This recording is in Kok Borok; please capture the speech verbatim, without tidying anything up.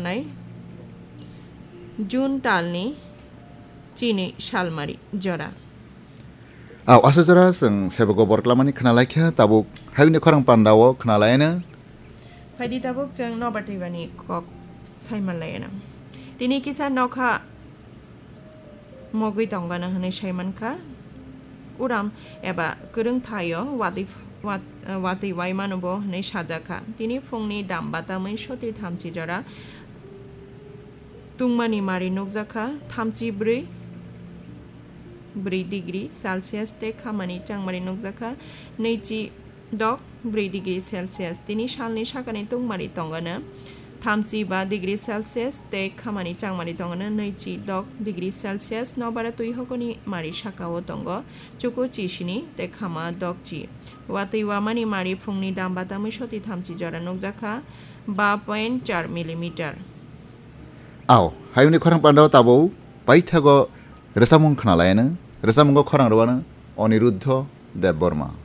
nai June talni chini salmari jora. Au, asa jora chwng sebogo bor tlamani khna laikha, tabuk hayungni khorang pandao khna laiano. Phaidi tabuk chwng nobar twibani kok saiman laiano. Tini kisa nokha mogwi tongana hwnwi saimankha. Uram eba kwrwng thaio watwi, wat-, watwi waimano bo hwnwi sajakha. Tini phungni dam batamwi soti thamchi jora tungmani mari nukjakha, thamchi bwrwi, bwrwi degree Celsius tei khamani changmari nukjakha, nwichi dok bwrwi degree Celsius. Tini salni sakani tungmari tongano thamchi ba degree Celsius tei khamani changmari tongano nwichi dok degree Celsius. Nobara twi hokoni mari sakao tongo chuku chi sini tei khama dok chi. Watwi wamani mari phungni dam batamwi soti thamchi jora nukjakha ba point char millimeter. Au, hayungni khorang pandao tabuk paithago rwchapmung khna laiano, rwchapmungo khorang rwano Aniruddha Debbarma.